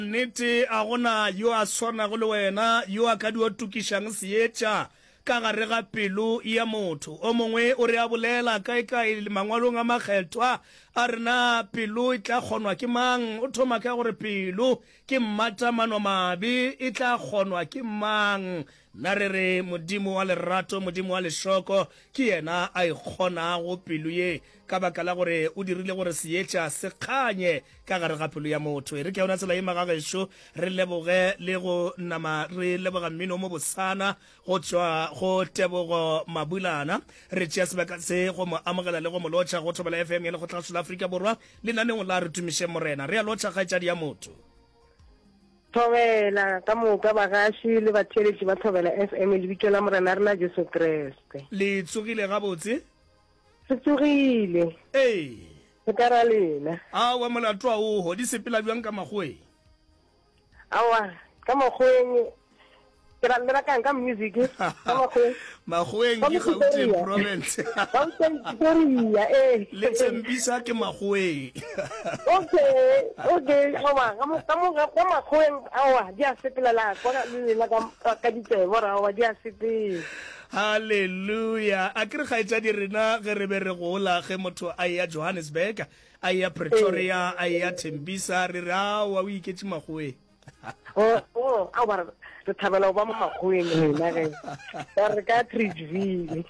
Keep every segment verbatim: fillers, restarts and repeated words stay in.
Nnete, a go na yo a swanago le wena, yo a ka dio tukišang seetša ka gare ga pelo ya motho. O mongwe o re a bolela kaekae Mangwalong a Makgethwa, a re, Na pelo e tla kgonwa ke mang? O thoma ka gore, Pelo ke mmata-mano-mabe, e tla kgonwa ke mang? Nna re re, Modimo wa lerato, Modimo wa lešoko, ke yena a e kgonago pelo ye, ka baka la gore o dirile gore seetša se kganye ka gare ga pelo ya motho. E re ka yona tsela ye, magagešo, re leboge le go nama re leboga mmino o mobosana go tšwa go Tebogo Mabulana. Re tšea sebaka se go mo amogela le go mo lotšha go Thobela F M ya Lekgotlagašo la Afrika Borwa lenaneong la Re Tumišeng Morena. Re a lotšha, kgaetšadi ya motho. Thobela ka moka bagaši le batheeletši ba Thobela F M lebitso la Morena rena Jesu Kriste. Le tsogile gabotse? Re tsogile. Ee. Re ka ra lena. Aowa molato a oho, di sepela bjang ka makgoweng? Aowa, ka makgoweng ke ra le rakang ka music ka makgoweng. Makgoweng ke Gauteng province. Gauteng Pretoria, ee. Le Tembisa ke makgoweng. Okay, okay, aowa, ka mo, ka mo, ka makgoweng, aowa, di a sepela la kwa le lena ka, ka ditsebe gore aowa di a sepela. Haleluya. A ke re kgaetšadi rena ge re be re gola, ge motho a eya Johannesburg, a eya Pretoria, a eya Tembisa, re re aowa o iketše makgoweng. Oh, oh, aowa, re thabela go ba mo makgoweng rena ge. Ba re ka Atteridgeville.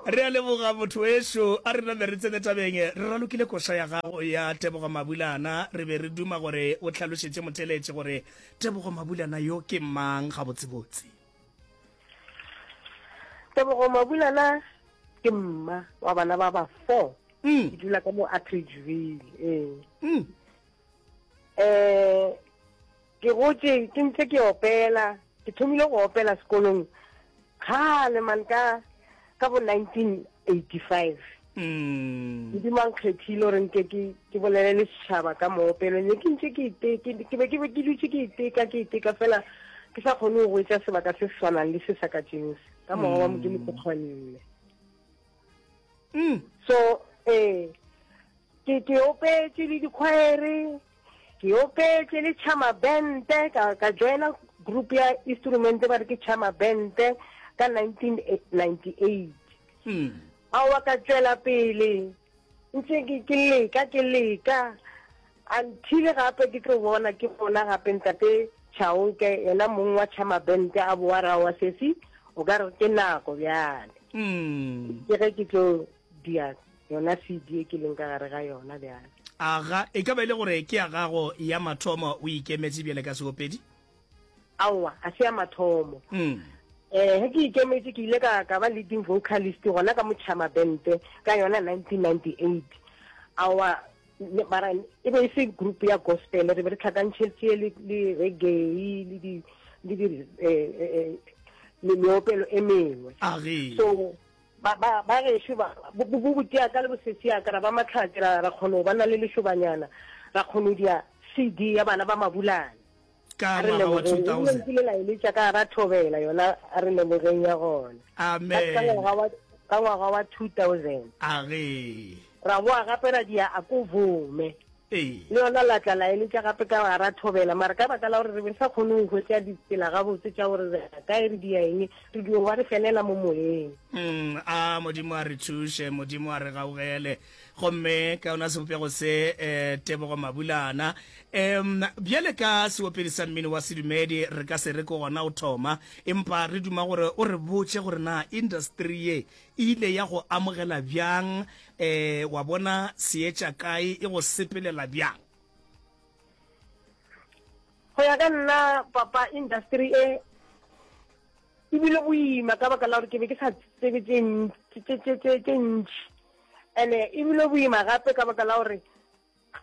Re a leboga motho wešo, a re name re tsene tabeng. Re ralokile koša ya gago ya Tebogo Mabulana, re be re duma gore o hlalošetše motheeletši gore Tebogo Mabulana yo ke mang gabotsebotse. Tebogo Mabulana ke mma wa bana ba ba four. Mm. Ke dula ka mo Atteridgeville, ee. Mm. Eh, ke gotše ke ntse ke opela, ke thomile go opela sekolong kgale man ka, ka bo nineteen eighty-five. Mm. Modimo a nkgethile gore nke ke, ke bolele le setšhaba ka moopelo. Ne ke ntse ke ite-, ke, ke be ke be ke dutše ke iteka, ke iteka fela ke sa kgone go hwetša sebaka se se swanang le se sa ka tšeno se. Ka moya wa Modimo ke kgonne. Mm. So, eh, ke, ke opetše le dikhwaere, ke opetše le Chama Band, ka, ka joina group ya instrument ba re ke Chama Band ka nineteen ninety-eight. Mm. Aowa ka tšwela pele ntse ke, ke leka, ke leka until gape ke tlo bona, ke bona gape ntate Chauke yena mong wa Chama Band a boa ra wa sesi, o ka re ke nako bjale. Mm. Ke ge ke tlo dia yona C D e ke leng ka gare ga yona bjale. Aga, e ka ba e le gore ke ya gago ya mathomo o ikemetše bjale ka seopedi? Aowa, a se ya mathomo. Mm. Eh, ge ke ikemetše ke ile ka, ka ba leading vocalist gona ka Motšhama Band ka yona nineteen ninety-eight. Aowa, ne, mara e be e se group ya gospel, re be re tlhakantšhetše le, le reggae, le di, le di, eh, eh, eh, le meopelo e mengwe. Age. So, ba, ba, ba gešo ba, bo, bo, bo botia ka le bosesi ya ka, ra ba mahlatse, ra, ra kgona go ba na le lešobanyana, ra kgona go dia C D ya bana ba Mabulana. Ka A re ngwaga wa lebogeng. two thousand. Ebile nkile la eletša ka ra thobela yona, a re lebogeng ya gona. Amen. Ka ngwaga wa, ka ngwaga wa two thousand. Age. Ra boa gape ra dia a ko vome. Ee. Le yona la tla la eletša gape ka ra thobela, mara ka baka la gore re be re sa kgone go hwetša ditsela gabotse tša gore re ya kae, re dia eng, re dio ba re felela mo moyeng. Mm, a Modimo a re thuše, Modimo a re gaugele. Gomme ka yona sebopego se, eh, Tebogo Mabulana, em, bjale ka seopedi sa mmino wa sedumedi, re ka se re ke gona o thoma, empa re duma gore o re botše gore na industry ye e ile ya go amogela bjang, eh, wa bona seetša kae, e go sepelela bjang? Go ya ka nna, papa, industry e e bile boima ka baka la gore ke be ke sa tsebe tše ntši, tše, tše, tše, tše ntši. Ene e bile boima gape ka baka la gore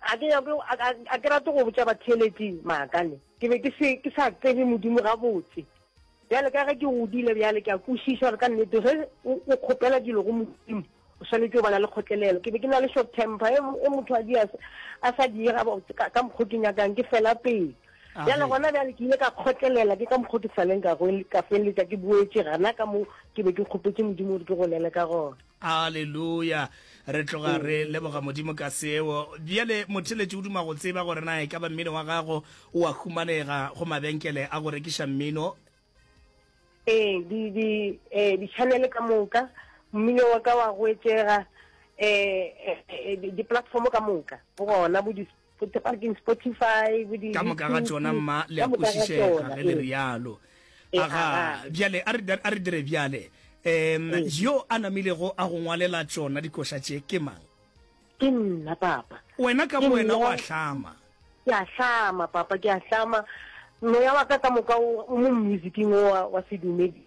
a ke nyake, a, a, a ke rate go botša batheeletši maaka ne. Ke be ke se, ke sa tsebe Modimo gabotse. Bjale ka ge ke godile bjale ke a kwešiša gore ka nnete ge o, o kgopela dilo go Modimo, o swanetše go ba na le kgotlelelo. Ke be ke na le short temper, e, e motho a di a, a sa di ga botse, ka, ka mokgo ke nyakang, ke fela pele. Bjale gona bjale ke ile ka kgotlelela, ke ka mokgwa ke saleng ka ka feleletša ke boetše gana ka mo ke be ke kgopetše Modimo gore ke golele ka gona. Aleluya! Re tloga re leboga Modimo ka seo. Bjale motheeletši o duma go tseba gore na e ka ba mmino wa gago o a humanega go mabenkele a go rekiša mmino. Ee, di, di, eh, di-channel ka moka, mmino wa ka wa goetšega, eh, eh, di-platform ka moka, go gona bo di Spotify, bo di Ka moka ga tšona, mma, le a kwešišega ge le rialo. Aga, bjale a re, a re dire bjale. Um, yo a namilego a go ngwalela tšona dikoša tše ke mang? Ke nna, papa. Wena ka bowena o a hlama? Ke a hlama, papa, ke a hlama. Moya wa ka ka moka o mo musicing o wa sedumedi.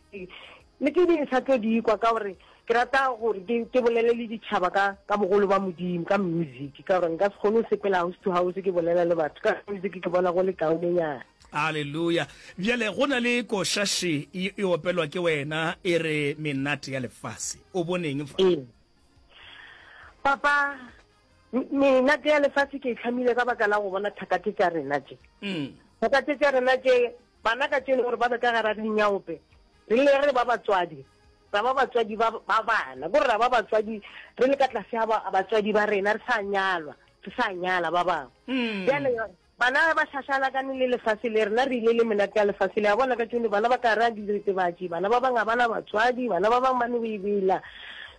Le tše dingwe sa tlo di kwa ka gore ke rata gore ke ke bolele le ditšhaba ka ka bogolo ba Modimo ka music, ka gore nka se kgone go sepela house to house ke bolela le batho ka music, ke bona go le kaonenyana. Haleluya. Bjale go na le koša še e e opelwa ke wena e re Menate ya Lefase. O boneng fa? Ee. Papa, menate ya lefase ke e hlamile ka baka la go bona thaka tše tša rena tše. Thaka tše tša rena tše, bana ka tšeno gore ba be ka gara dinyaope, re le re ba batswadi, ra ba batswadi ba, ba bana, kore ra ba batswadi re le ka tlase ga ba, batswadi ba rena, re sa nyalwa, re sa nyala ba bangwe. Bjale bana ba šašalakane le lefase le, rena re ile le menate ya lefase le. A bona ka tšeno bana ba ka gara diretebatši, bana ba bangwe ga ba na batswadi, bana ba bangwe ba no bebela.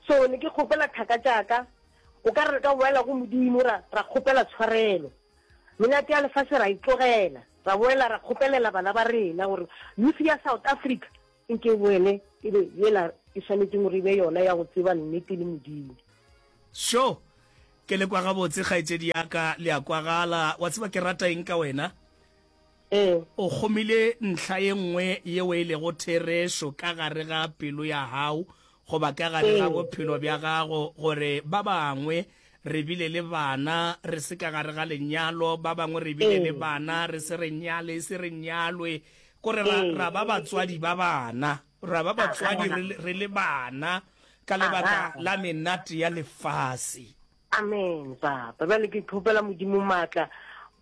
So ne ke kgopela thaka tša ka, o ka re re ka boela go Modimo ra, ra kgopela tshwarelo. Menate ya lefase ra e tlogela, ra boela ra kgopelela bana ba rena gore youth ya South Africa nke e boele e be yela e swanetšeng gore e be yona ya go tseba nnete le Modimo. Sho! Ke le kwa gabotse, kgaetšedi ya ka, le a kwagala. Wa tseba ke rata eng ka wena? Ee. O kgomile ntlha ye nngwe yeo e lego therešo ka gare ga pelo ya gago goba ka gare ga bophelo bja gago, gore ba bangwe re bile le bana re se ka gare ga lenyalo, ba bangwe re bile le bana re se re nyale, se re nyalwe, kore ra, ra ba batswadi ba bana, ra ba batswadi re, re le bana ka lebaka la menate ya lefase. Amen, papa. Bjale ke kgopela Modimo maatla,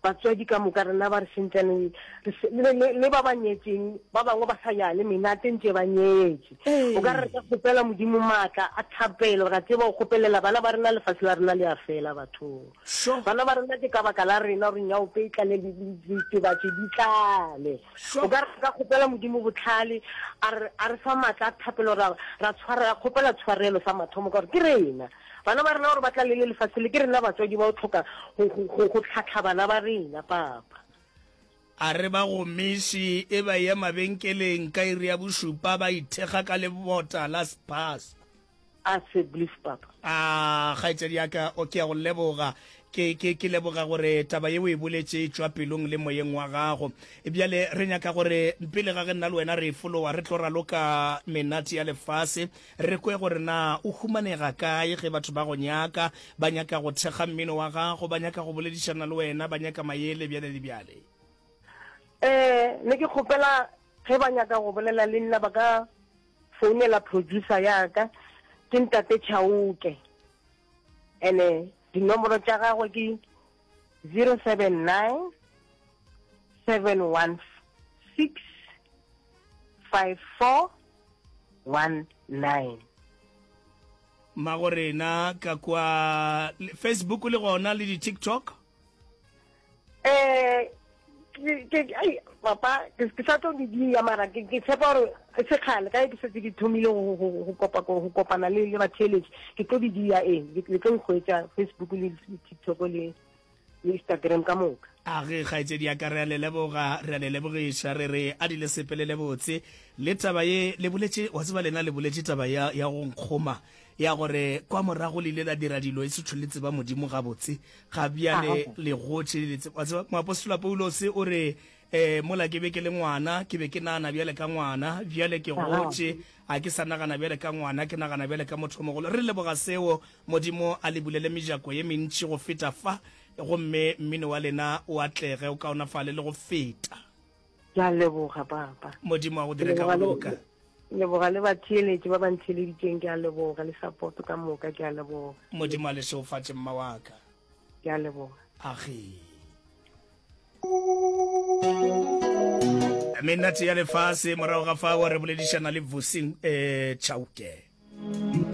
batswadi ka moka rena ba re sentšaneng, le, le, le ba ba nyetšeng, ba bangwe ba sa ya le menate ntše ba nyetše. O ka re re ka kgopela Modimo maatla a thapelo, ra tseba go kgopelela bana ba rena, lefase la rena le a fela bathong. Sure. Bana ba rena ke ka baka la rena gore nyaope e tlale le ditebatši di tlale. Sure. O ka re re ka kgopela Modimo bohlale, a re, a re fa maatla a thapelo, ra, ra tshwara, ra kgopela tshwarelo sa mathomo ka gore ke rena. Bana ba rena gore ba tla le le lefase le, ke rena batswadi ba go hloka go, go, go, go tlhahla bana ba rena, papa. A re ba gomiše e ba eya mabenkeleng ka iri ya bošupa ba ithekga ka lebota la Spaza. A se blief, papa. A, kgaetšedi ya ka, o, ke a go leboga. Ke, ke, ke leboga gore taba ye o e boletše e tšwa pelong le moyeng wa gago. Bjale re nyaka gore pele ga ge nna le wena re e folowa, re tlo raloka menate ya lefase, re kwe gore na o humanega kae ge batho ba go nyaka, ba nyaka go thekga mmino wa gago, ba nyaka go boledišana le wena, ba nyaka maele, bjale le bjale. Eh, ne ke kgopela ge ba nyaka go bolela le nna ba ka founela producer ya ka, ke Ntate Chauke. Ene dinomoro tša gagwe ke zero seven nine seven one six five four one nine. Mmagorena ka kwa Facebook le gona le di TikTok? Eh, ke, ke, ai, papa, ke, ke sa tlo di dia, mara ke, ke tshepa gore e se kgale, ka ge ke setse ke thomile go, go, go kopa, go kopana le, le batheeletši, ke tlo di dia, ee, le, le tlo nkhwetša Facebook le, le TikTok le, le Instagram ka moka. A ge, kgaetšedi ya ka, re a le leboga, re a le lebogiša, re re a di le sepelele botse. Le taba ye le boletše, wa tseba lena le boletše taba ya, ya go nkgoma, ya gore kwa morago le ile la dira dilo e se tšho le tseba Modimo gabotse, ga bjale le gotše le tseba. Wa tseba, moapostola Paulose o re, Eh, mola ke be ke le ngwana, ke be ke nagana bjale ka ngwana, bjale ke gotše, ga ke sa nagana bjale ka ngwana, ke nagana bjale ka motho o mogolo. Re leboga seo. Modimo a le bulele mejako ye mentši go feta fa, gomme mmino wa lena o atlege, o kaonafale le go feta. Ke a leboga, Papa. Modimo a go dire ka go loka. Leboga le batheeletši ba ba ntheeleditšeng, ke a leboga, le support ka moka, ke a leboga. Modimo a le šegofatše, mma wa ka. Ke a leboga. Age. Menate ya lefase, morago ga fao re boledišana le Vusi um Chauke.